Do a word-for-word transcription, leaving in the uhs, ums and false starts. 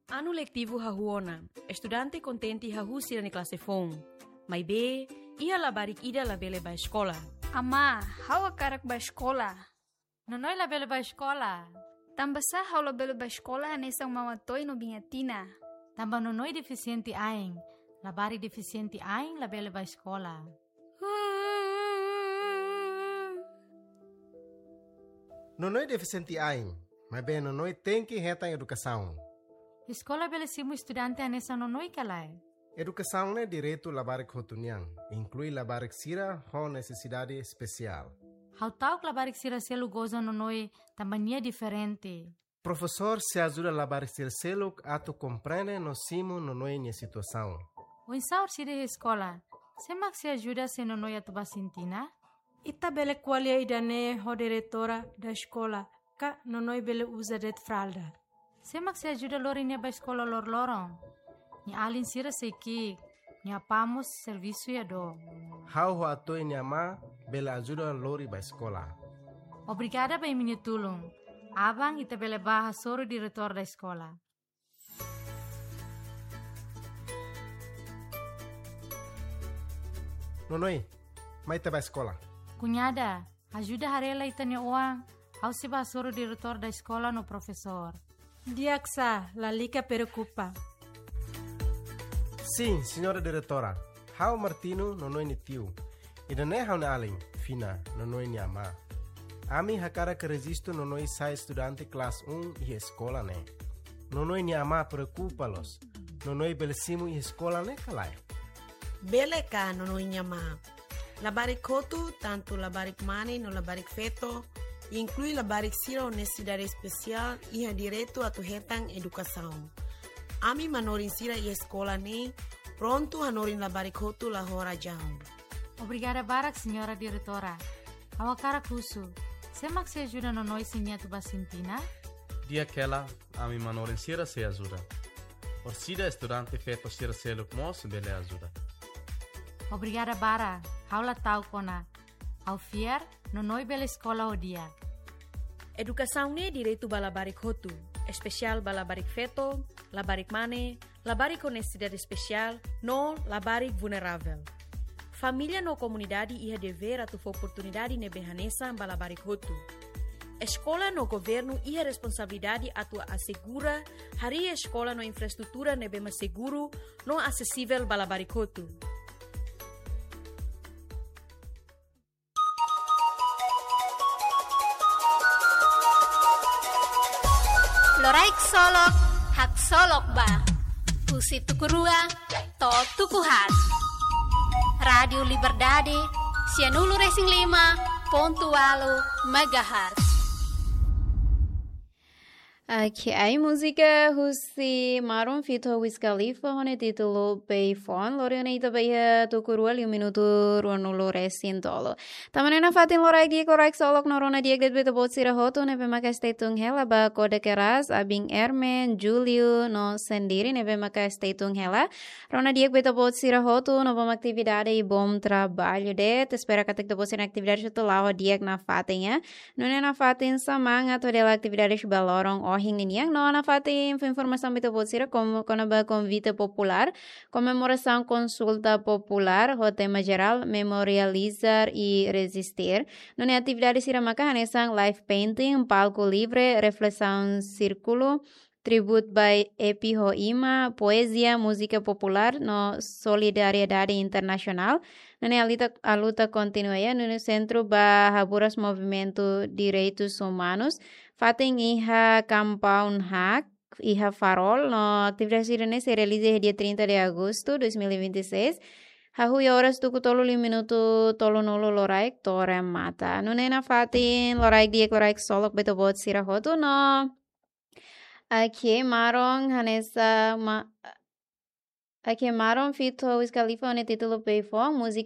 Anu letivu hahú ona, estudante kontente hahú sira-nia klase foun. Maibé, iha labarik ida labele bá eskola. Amá, ha'u hakarak bá eskola. Nonoi labele bá eskola. Tanbasá ha'u labele bá eskola hanesan Maun Atoy no Biin Atina? Tanba Nonoi defisiente ain. Labarik defisiente ain labele bá eskola. Nonoi defisiente ain, maibé Nonoi tenke hetan edukasaun. Eskola bele simu estudante hanesan Nonoi ka lae? Edukasaun ne'e direitu labarik hotu nian, inklui labarik sira ho nesesidade espesiál. Ha'u ta'uk labarik sira seluk goza Nonoi tanba nia diferente. Profesór sei ajuda labarik sira seluk atu komprende no simu Nonoi nia situasaun. Oinsá orsida iha eskola? Sé mak sei ajuda se Nonoi atu bá sintina? Ita bele ko'alia ida-ne'e ho diretora da eskola, ka Nonoi bele uza de'it fralda. Sé mak sei ajuda lori nia bá eskola loroloron? Nia alin sira sei ki'ik, nia apá mós servisu iha dook. Ha'u ho Atoy nia amá bele ajuda lori bá eskola. Obrigada ba imi-nia tulun. Aban ita bele bá hasoru diretór da eskola. Nonoi, mai ita bá eskola. Kuñada, ajuda haree lai ita-nia oan, ha'u sei bá hasoru diretór da eskola no profesór. Di'ak sá, lalika preokupa. Sin, señora diretora. Ha'u Martino, Nonoi nia tiu. Ida-ne'e ha'u-nia alin, Fina, Nonoi nia amá. Ami hakarak rejistu Nonoi sai estudante klase um iha eskola ne'e. Nonoi nia amá preokupa loos. Nonoi bele simu iha eskola ne'e ka lae? Bele ka, Nonoi nia amá. Labarik hotu, tantu labarik mane no labarik feto, inklui labarik sira ho nesesidade espesiál, iha direitu atu hetan edukasaun. Ami manorin sira iha eskola ne'e prontu hanorin labarik hotu la ho razaun. Obrigada barak, señora diretora. Ha'u hakarak husu, sé mak sei ajuda Nonoi se nia atu bá sintina? Di'ak hela, ami manorin sira sei ajuda. Orsida estudante feto sira seluk mós bele ajuda. Obrigada barak, ha'u la ta'uk ona. Ha'u fiar, Nonoi bele eskola ho di'ak. Edukasaun ne'e direitu ba labarik hotu, espesiál ba labarik feto, labarik mane, labarik ho nesesidade espesiál, no labarik vulneravel. Família no komunidade iha devér atu fó oportunidade ne'ebé hanesan ba labarik hotu. Eskola no governu iha responsabilidade atu asegura harii eskola no infraestrutura ne'ebé mak seguru no asesivel ba labarik hotu. Loraik Solok, haksolok ba. Husi tuku rua to'o tuku haat. Rádiu Liberdade, sianulu resin lima pontu ualu megahertz. Oke, ai múzika husi Maroon feat Wiz Khalifa ho nia títulu Payphone. Lori ona ita ba iha tuku rua liu minutu ruanulu resin tolu. Tanba ne'e nafatin loraik di'ak, loraik solok no rona di'ak de'it ba ita-boot sira hotu ne'ebé maka stay tune hela ba Koda Keras, Abin Ermen, Julio no Sendiri ne'ebé maka stay tune hela. Rona di'ak ba ita-boot sira hotu no bom atividade i bom trabalho de'it. Espera katak ita-boot sira-nia atividade hotu la'o di'ak nafatin, ya. Nune'e nafatin semangat hodi halo atividade ba loron ohin ninian. No nafatin fó informasaun ba ita-boot sira kona-ba konvite populár, komemorasaun konsulta populár ho tema jerál Memorializar e Resistir. Nune'e atividade sira maka hanesan live painting, palku livre, reflesaun sírkulu, tribute by Epi ho Ima, poezia, múzika populár no solidariedade internasionál. Nune'e a luta, a luta kontinua, ya, nune'e sentru ba haburas movimentu direitus umanus. Fatin iha Kampung Hak, iha Farol, no atividade sira-ne'e sei realiza iha dia trinta de agosto dois mil e vinte e seis. Hahú iha oras tuku tolu liu minutu tolunulu loraik to'o remata. Nune'e nafatin loraik di'ak, loraik solok ba ita-boot sira hotu no. Oke, Maroon hanesan ma-, oke, Maroon feat Wiz Khalifa ho nia títulu Payphone, múzika